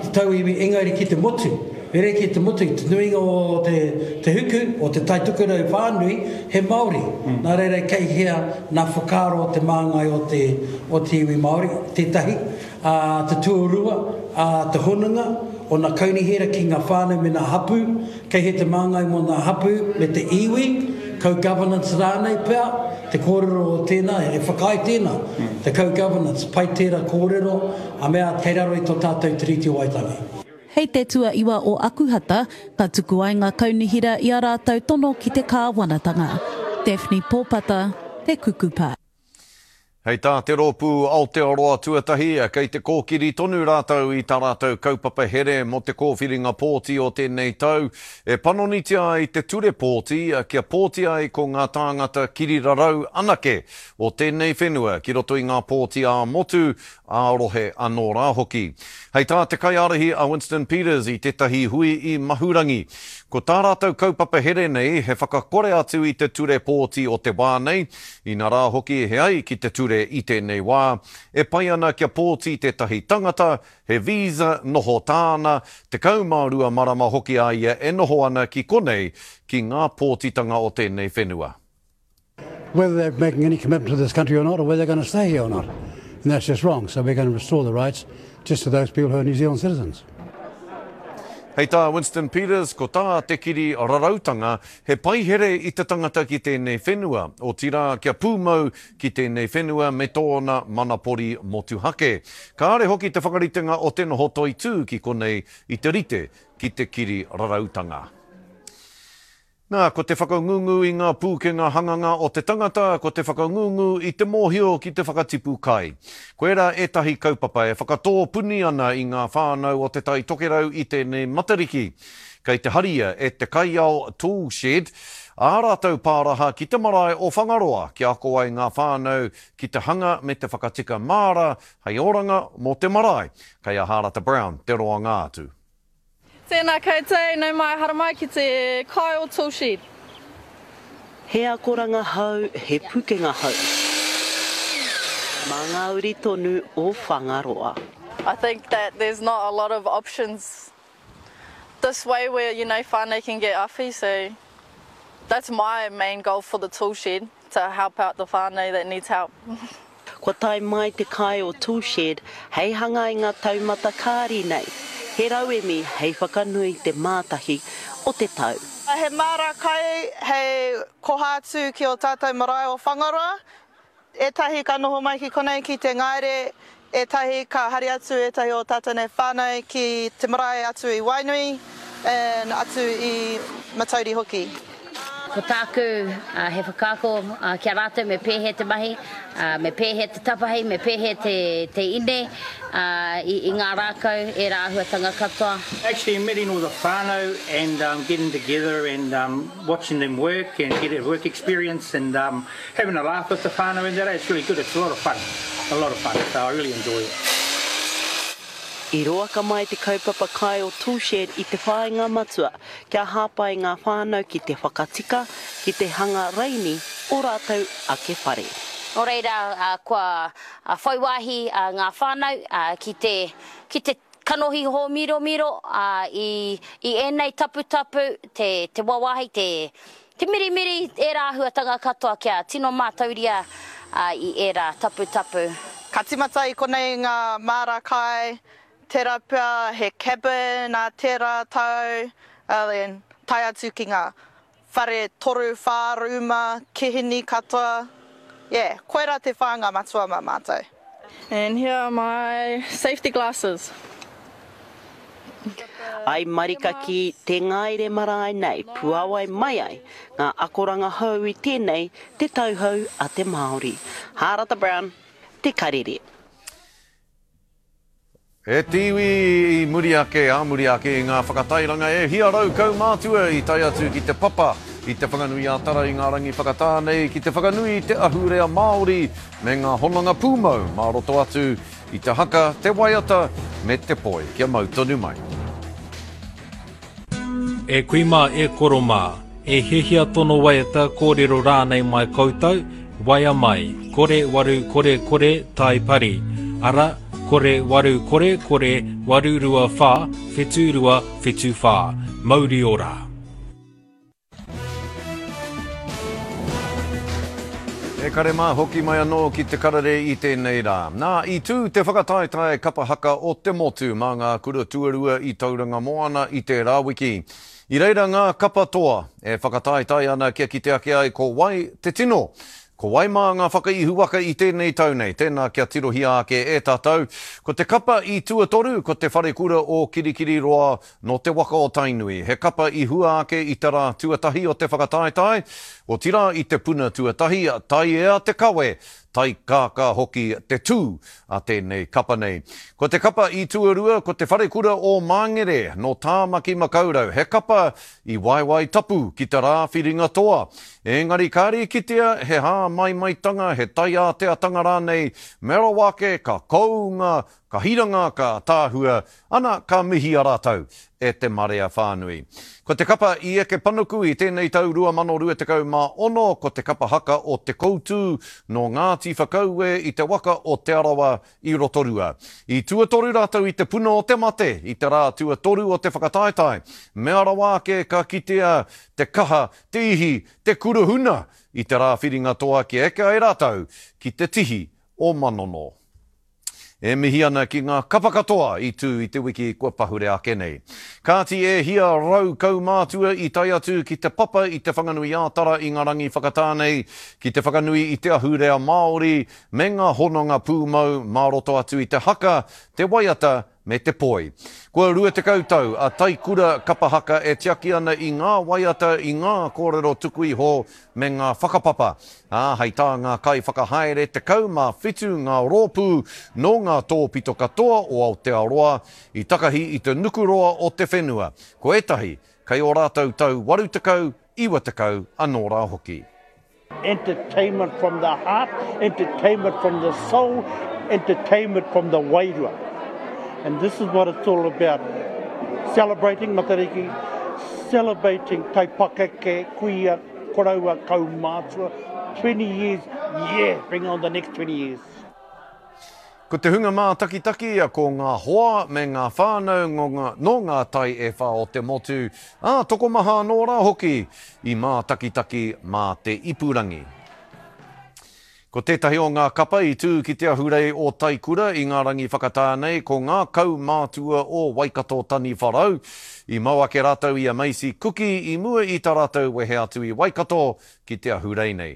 te tauiwi engari ki te motu. Rerekē te motu, te nuinga o te, te huku, o te Tai Tokerau whānui, he Māori. Nā reira kei hea nā whakaaro o te māngai o te, o te iwi Māori, tētahi, ā, te tuarua, ā, te hononga o nā kaunihera ki ngā whānau me nā hapū, kei hea te māngai mō nā hapū me te iwi, co-governance rānei pea, te kōrero o tēnā, he whakaae tēnā, te co-governance, pai tērā kōrero, a mea kei raro i tō tātou Tiriti o Waitangi. Hei te tuaiwa o Akuhata, ka tuku ai ngā kaunihera i ā rātou tono ki te kāwanatanga. Daphne Pōpata, Te Kukupa. Hei tā te rōpū Aotearoa Tuatahi, kei te kōkiri tonu rātou i tā rātou kaupapa here mō te kōwhiringa pōti o tēnei tau, e panonitia ai te ture pōti kia pōti ai ko ngā tāngata kirirarau anake o tēnei whenua ki roto i ngā pōti ā-motu, ā-rohe anō rā hoki. Hei tā te kaiārahi a Winston Peters i tētahi hui i Mahurangi, ko tā rātou kaupapa here nei he whakakore atu i te ture pōti o te wā nei, inarā hoki he ai ki te ture i tēnei wā, e pai ana kia pōti tētahi tangata, he visa noho tāna, 12 marama hoki a ia e noho ana ki konei ki ngā pōtitanga o tēnei whenua. Whether they're making any commitment to this country or not, or whether they're going to stay here or not. And that's just wrong. So we're going to restore the rights just to those people who are New Zealand citizens. Hei tā Winston Peters, ko tā te kiri rarautanga, he paihere i te tangata ki tēnei whenua, otirā kia pūmau ki tēnei whenua me tōna manapori motuhake. Kāre hoki te whakaritenga o te noho toitū ki konei i te rite ki te kiri rarautanga. Nā, ko te whakangungu i ngā pūkenga hanganga o te tangata, ko te whakangungu i te mōhio ki te whakatipu kai. Koirā ētahi kaupapa e whakatō puni ana i ngā whānau o Te Tai Tokerau i tēnei Matariki. Kei te haria e te kaiao Tool Shed ā rātou pāraha ki te marae o Whangaroa kia ako ai ngā whānau ki te hanga me te whakatika māra hei oranga mō te marae. Kei a Hārata Brown te roanga atu. Tēnā koutou, nau mai haramai ki te kai o Tool Shed. He akoranga hou, he pukenga hou. Mā ngā uri tonu o Whangaroa. I think that there's not a lot of options this way where you know whānau can get awhi so that's my main goal for the tool shed to help out the whānau that needs help. Kua tae mai te kai o Toolshed hei hanga i ngā taumata kāri nei, he rauemi hei whakanui te mātahi o te tau. He māra kai hei koha atu ki o tātou marae o Whangaroa. Ētahi ka noho mai ki konei ki te ngaere, ētahi ka hari atu ētahi o tātou nei whānau ki te marae atu i Wainui and atu i Matauri hoki. Ko tāku he whakaako ki a rātou me pēhea te mahi, me pēhea te tapahi, me pēhea te ine i ngā rākau, ērā āhuatanga katoa. Actually meeting all the whānau and getting together and watching them work and get a work experience and having a laugh with the whānau and that, it's really good, it's a lot of fun, a lot of fun, so I really enjoy it. I roaka mai te kaupapa kai o Toolshed i te whāinga matua kia hāpai ngā whānau ki te whakatika, ki te hanga raini o rātou ake whare. Nō reira, kua whai wāhi ngā whānau ki te, ki te kanohi hōmiromiro i, i ēnei taputapu, te, te wāwāhi, te, te mirimiri, ērā āhuatanga katoa kia tino mātauria i ērā taputapu. Ka tīmata i konei ngā māra kai, Tērā pea he cabin ā tērā tau, then tae atu ki ngā whare toru, whā rūma, kihini katoa. Yeah, koirā te whāinga matua mā mātou. And here are my safety glasses. I marika ki te ngaere marae nei puawai mai ai ngā akoranga hou i tēnei te tauhou a te Māori. Hārata Brown, Te Karere. E te iwi i muri ake, ā muri ake i ngā whakatairanga e 100 kaumātua i tae atu ki te papa i Te Whanganui-ā-Tara i ngā rangi whakatā nei ki te whakanui i te ahurea Māori me ngā hononga pūmau mā roto atu i te haka, te waiata me te poi. Kia mau tonu mai. E kui mā, e koro mā, e hiahia tono waiata, kōrero rānei mai koutou, waea mai, kore waru kore kore tai pari, ara, 0 8 kore 8 2 4 7 2 7 4. Mauri ora! E kare mā, hoki mai anō ki te karere i tēnei rā. Nā, i tū te whakataetae kapa haka o te motu mā ngā kura tuarua i Tauranga Moana i tērā wiki. I reira ngā kapa toa e whakataetae ana kia kite ake ai ko wai te tino. Ko wai mā ngā whakaihuwaka i tēnei tau nei? Tēnā kia tirohia ake e tātou. Ko te kapa i tuatoru ko te Wharekura o Kirikiriroa nō te waka o Tainui. He kapa i hua ake i te rā tuatahi o te whakataetae, otirā i te puna tuatahi, taiea te kawe, taikākā hoki te tū a tēnei kapa nei. Ko te kapa i tuarua ko te Wharekura o Māngere nō Tāmaki Makaurau, he kapa i waewae tapu ki te rā whiringa toa. Engari kāre i kitea he hāmaimaitanga, he taiāteatanga rānei, mea rawa ake ka kounga, ka hiranga, ka ataahua, ana ka mihia rātou e te marea whānui. Ko te kapa i eke panuku i tēnei tau 2026 ko te kapa haka o Te Koutū nō Ngāti Whakaue i te waka o Te Arawa i Rotorua. I tuatoru rātou i te puna o te mate i te rā tuatoru o te whakataetae. Mea rawa ake ka kitea te kaha, te ihi, te kuruhuna i te rā whiringa toa kia eke ai rātou ki te tihi o Manono. E mihi ana ki ngā kapa katoa i tū i te wiki kua pahure ake nei. Kāti e hia rau kaumātua i tae atu ki te papa i Te Whanganui-ā-Tara i ngā rangi whakatā nei ki te whakanui i te ahurea Māori me ngā hononga pūmau mā roto atu i te haka, te waiata me te poi. Kua 20 tau a Taikura Kapa Haka e tiaki ana i ngā waiata, i ngā kōrero tuku iho me ngā whakapapa, ā, hei tā ngā kaiwhakahaere 17 ngā rōpū nō ngā tōpito katoa o Aotearoa i takahi i te nukuroa o te whenua, ko ētahi kei ō rātou tau 80, 90 anō rā hoki. Entertainment from the heart, entertainment from the soul, entertainment from the wairua. And this is what it's all about. Celebrating Matariki, celebrating taipakeke, kuia, koroua, kaumātua, 20 years, yeah, bring on the next 20 years. Ko te hunga mātakitaki, ko ngā hoa me ngā whānau nō ngā tai e whā o te motu, ā, tokomaha anō rā hoki i mātakitaki mā te ipurangi. Ko tētahi o ngā kapa i tū ki te ahurei o Taikura i ngā rangi whakatā nei ko ngā kaumātua o Waikato Taniwharau. I mau ake rātou i a Macy Kuki i mua i tā rātou wehe atu i Waikato ki te ahurei nei.